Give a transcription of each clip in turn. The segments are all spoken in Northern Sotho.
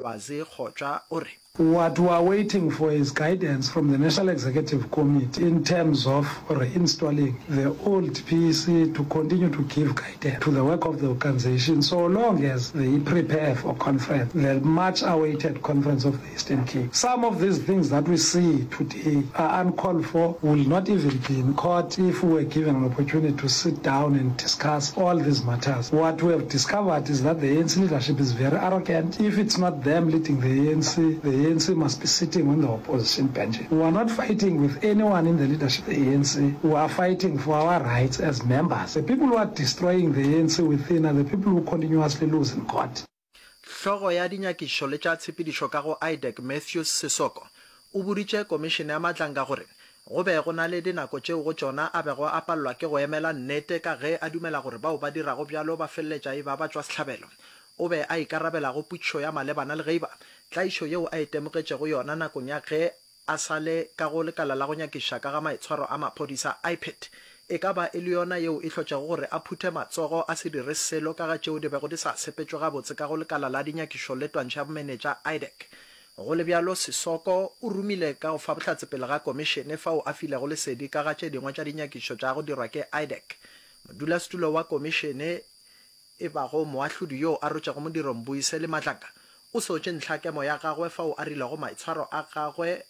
Lwazi Kgotša o re. What we are waiting for is guidance from the National Executive Committee in terms of reinstalling the old PEC to continue to give guidance to the work of the organisation so long as they prepare for conference, the much awaited conference of the Eastern Cape. Some of these things that we see today are uncalled for, will not even be in court if we were given an opportunity to sit down and discuss all these matters. What we have discovered is that the ANC leadership is very arrogant. If it's not them leading the ANC, the ANC must be sitting on the opposition bench. We are not fighting with anyone in the leadership of the ANC. We are fighting for our rights as members. The people who are destroying the ANC within are the people who continuously lose in court. Hlogo ya dinyakišišo le tša tshepedišo ka go IDAC Matthews Sesoko o boditše komišene ya Matlanga gore go be go na le dinako tšeo go tšona a bego a palelwa ke go emela nnete ka ge a dumela gore bao ba dirago bjalo ba feleletša e ba batšwasehlabelo. O be a ikarabela go potšišo ya malebana le ge e ba tlaišo yeo a itemogetšego yona nakong ya ge a sa le ka go lekala la go nyakišiša ka ga maitshwaro a maphodisa, IPID, e ka ba e le yona yeo e hlotšego gore a phuthe matsogo a se dire selo ka ga tšeo di bego di sa sepetšwe gabotse ka go lekala la dinyakišo le twantšho ya bomenetša, IDAC. Go le bjalo, Sesoko o rumile ka go fa bohlatse pele ga komišene fao a filego lesedi ka ga tše dingwe tša dinyakišišo tša go dirwa ke IDAC. Modulasetulo wa komišene e bago moahlodi yo a rotšego modiro Mbuyiseli Madlanga, o sotše ntlhakemo ya gagwe fao a rilego maitshwaro a gagwe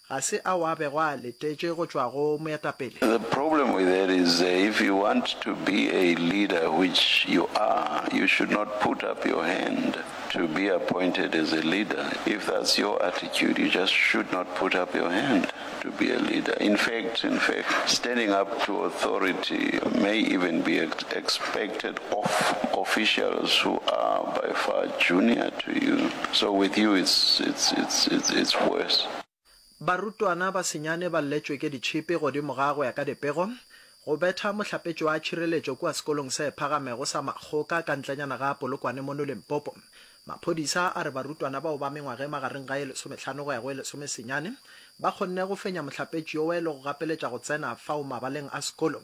ga se ao a bego a letetše go tšwa go moetapele. The problem with that is if you want to be a leader, which you are, you should not put up your hand to be appointed as a leader. If that's your attitude, you just should not put up your hand to be a leader. In fact, in fact, standing up to authority may even be expected of officials who are by far junior to you. So with you, it's, it's, it's, it's, it's worse. Barutwana ba senyane ba lletšwe ke ditšhipi godimo ga go ya ka dipego, go betha mohlapetši wa tšhireletšo kua sekolong se phagamego sa Makgoka ka ntlenyana ga Polokwane mono Limpopo. Maphodisa a re barutwana bao ba mengwaga e magareng ga e lesomehlano go ya go e lesomesenyane ba kgonne go fenya mohlapetši yowe le go gapeletša go tsena fao mabaleng a sekolo.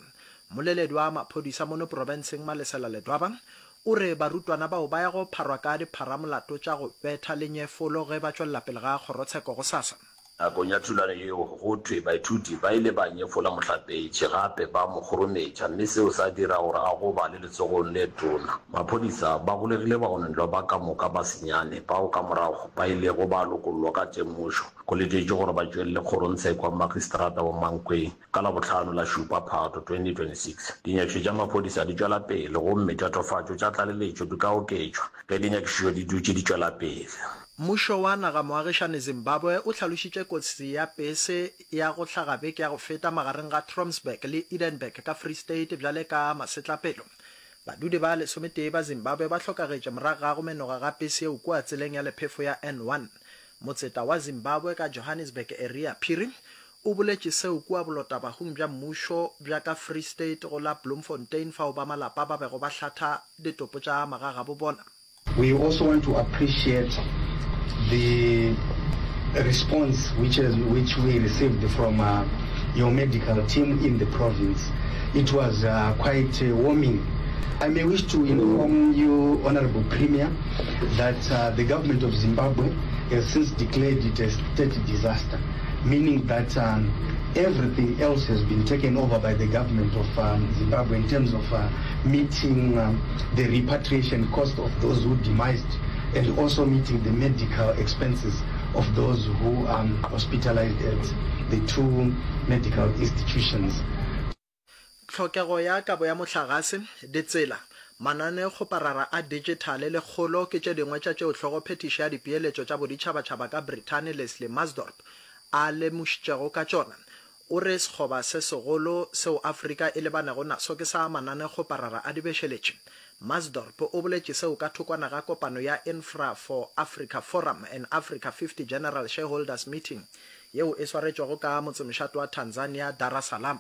Mmoleledi wa maphodisa mono profenseng Malesela Ledwaba o re barutwana bao ba ya go pharwa ka dipharamolato tša go betha le nyefolo ge ba tšwelela pele ga kgorotsheko gosasa. Nakong ya thulano yeo, go thwe baithuti ba ile ba nyefola mohlapetši gape ba mo kgorometša mme seo sa dira gore a gobale letsogong le tona. Maphodisa ba golegile bagononelwa ba ka moka ba senyane bao ka morago ba ilego ba lokollwa ka temošo. Go letetšwe gore ba tšwelele kgorongtsheko ya Magistrata wa Mankweng ka Labohlano la šupa Phato 2026. Dinyakišišo tša maphodisa di tšwela pele gomme tatofatšo tša tlaleletšo di ka oketšwa ge dinyakišišo di dutše di tšwela pele. Mmušo wa naga moagišani Zimbabwe o hlalošitše kotsi ya pese ya go hlaga beke ya go feta magareng ga Trompsburg le Edenburg ka Free State bjale ka masetlapelo. Badudi ba lesometee ba Zimbabwe ba hlokagetše morago ga go menoga ga pese yeo kua tseleng ya lephefo ya N1. Motseta wa Zimbabwe ka Johannesburg Eria Phiri o boletše seo kua bolotabahung bja mmušo bja ka Free State go la Bloemfontein fao ba malapa ba bego ba hlatha ditopo tša magagabo bona. We also want to appreciate the response which has, which we received from uh, your medical team in the province. It was uh, quite uh, warming. I may wish to inform you, Honorable Premier, that uh, the government of Zimbabwe has since declared it a state disaster, meaning that um, everything else has been taken over by the government of um, Zimbabwe in terms of uh, meeting um, the repatriation cost of those who demised and also meeting the medical expenses of those who are um, hospitalized at the two medical institutions. Tlhokego ya kabo ya mohlagase, ditsela, mananeokgoparara a dijithale le kgolo ke tše dingwe tša tšeo Hlogophethiši ya Dipeeletšo tša Boditšhabatšhaba ka Brithani Leslie Maasdorp a lemošitšego ka tšona. O re sekgoba se segolo seo Afrika e lebanego naso ke sa mananeokgoparara a dibešeletši. Maasdorp o boletše seo ka thokwana ga kopano ya Infra for Africa Forum and Africa 50 General Shareholders Meeting yeo e swaretšwego ka motsemošate wa Tanzania, Dar-es-Salaam.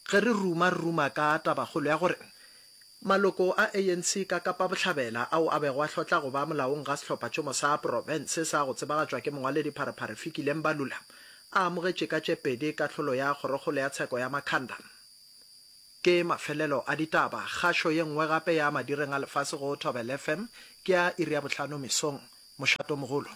Ge re ruma, re ruma ka tabakgolo ya gore maloko a ANC ka Kapa Bohlabela ao a bego a hlotla go ba molaong ga sehlophatšhomo sa profense sa go tsebagatšwa ke mongwaledi Pharephare Fikile Mbalula a amogetše ka tše pedi kahlolo ya Kgorokgolo ya Tsheko ya Makhanda. Ke mafelelo a ditaba. Kgašo ye nngwe gape ya madireng a lefase go Thobela FM ke ya iri ya bohlano mesong. Mošatomogolo.